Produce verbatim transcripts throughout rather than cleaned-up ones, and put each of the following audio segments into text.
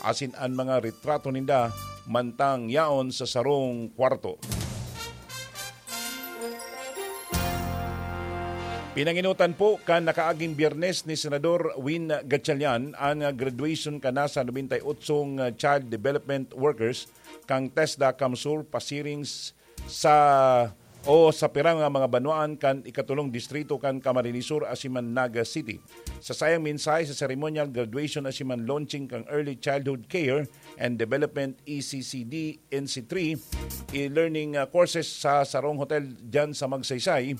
asin an mga retrato ninda mantang yaon sa sarong kwarto. Pinanginutan po kan nakaaging Biyernes ni Senador Win Gatchalian an graduation kan nasa nobenta y otsong child development workers kan TESDA CamSur pasiring s-, sa o sa pirang nga mga banwaan kan ikatulong distrito kan Camarines Sur asin man Naga City. Sa saiyang mensahe sa ceremonial graduation asin man launching kan Early Childhood Care and Development E C C D N C three e-learning, ah, courses sa sarong hotel diyan sa Magsaysay,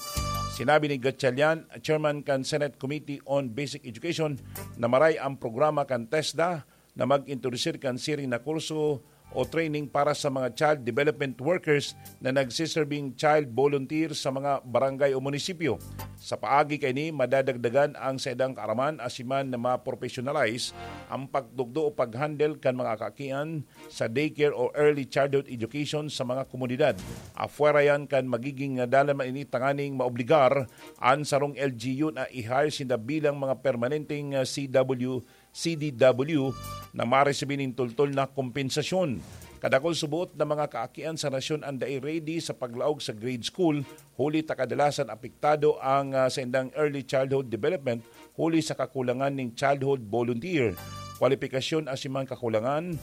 sinabi ni Gatchalian, chairman kan Senate Committee on Basic Education, na maray ang programa kan TESDA na mag-introdusir kan siring na kurso o training para sa mga child development workers na nagsiserving child volunteer sa mga barangay o munisipyo. Sa paagi kaini, madadagdagan ang saindang kaaraman asin man na ma-professionalize ang pagtukdo o pag-handle kan mga kaakian sa daycare o early childhood education sa mga komunidad. Apwera yan kan magiging dalan man ini tanganing maobligar an sarong L G U na i-hire sinda bilang mga permanenteng, ah, C W, C D W na maresibi nin tultol na kompensasyon. Kadakul suboot na mga kaakian sa nasyon an dai ready sa paglaog sa grade school, huli ta kadalasan apektado ang, ah, saindang early childhood development huli sa kakulangan nin childhood volunteer, kwalipikasyon asin man kakulangan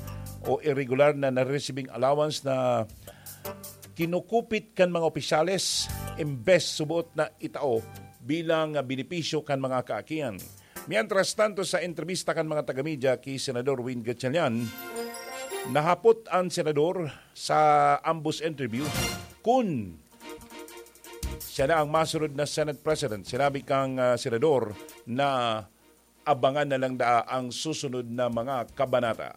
o irregular na naresibing allowance na kinukupit kan mga opisyales, imbes suboot na itao bilang, ah, benepisyo kan mga kaakian. Mientras tanto, sa entrebista kan mga taga-media ki Senador Win Gatchalian, nahapot an senador sa ambos interview kun siya na ang masunod na Senate President. Sinabi kang, ah, senador na abangan na lang daa ang susunod na mga kabanata.